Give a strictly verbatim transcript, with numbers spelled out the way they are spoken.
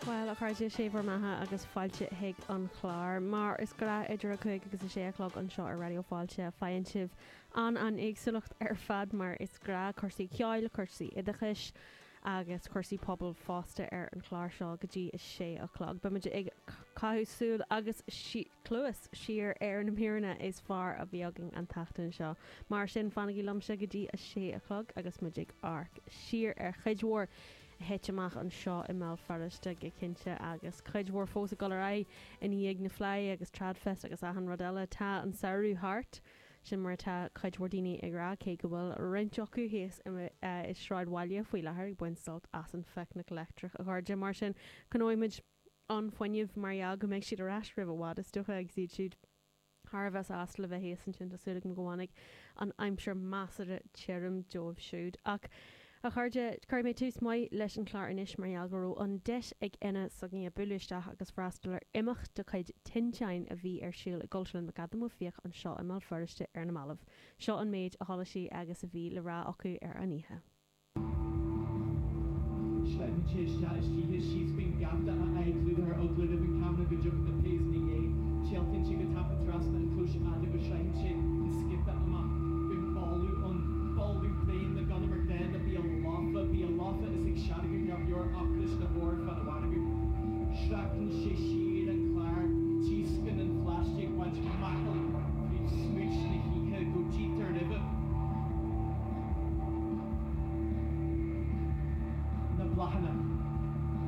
Bhuel, a chairde, sé bhur mbeatha agus fáilte chuig an chlár. Mar is gnách idir a cúig agus a sé a chlog anseo ar Raidió Fáilte, faigheann sibh an an éagsúlacht ar fad mar is gnách, cúrsaí ceoil, cúrsaí oideachais agus cúrsaí pobail fosta ar an chlár seo go dtí a sé a chlog. Beimid ag caitheamh súil agus cluas siar ar na míreanna is fearr a bhí againn an tseachtain seo. Mar sin, fanaigí liomsa go dtí a sé a chlog agus muid ag amharc siar ar chuid mhór a thit amach anseo i mBéal Feirste go cinnte agus cuid mhór fós ag dul ar aghaidh i ndiaidh na Fleidhe agus Tradfest agus achan rud eile. Tá an samhradh thart, sin mar atá cuid mhór daoine ag rá, cé go bhfuil roinnt acu thíos i sráidbhaile faoi láthair ag baint sult as an phicnic leictreach, a chairde. Mar sin, coinneoidh muid an fuinneamh mar gheall go mbeidh siad ar ais roimh i bhfad, is dócha, agus iad siúd thar a bheith sásta le bheith thíos ansin. Tá súil agam go bhfanfaidh an aimsir measartha tirim dóibh siúd. Ach, a chairde, cuirfidh mé tús maith leis an chlár anois mar gheall go raibh an deis ag Enna s'againne bualadh isteach agus freastal ar imeacht de chuid Tinteán a bhí ar siúl i gCultúrlann McAdam Ó Fiaich anseo i mBéal Feirste ar na mallaibh. Seo an méid a chuala sí agus a bhí le rá acu ar an oíche. Sleipeann sé isteach istoíche síos faoin gheafta, a aghaidh clúdaithe ar eagla roimh an ceamara go dtiocfaidh na péas ina dhiaidh. Téaltaíonn sé go tapa trasna an chlóis fhada go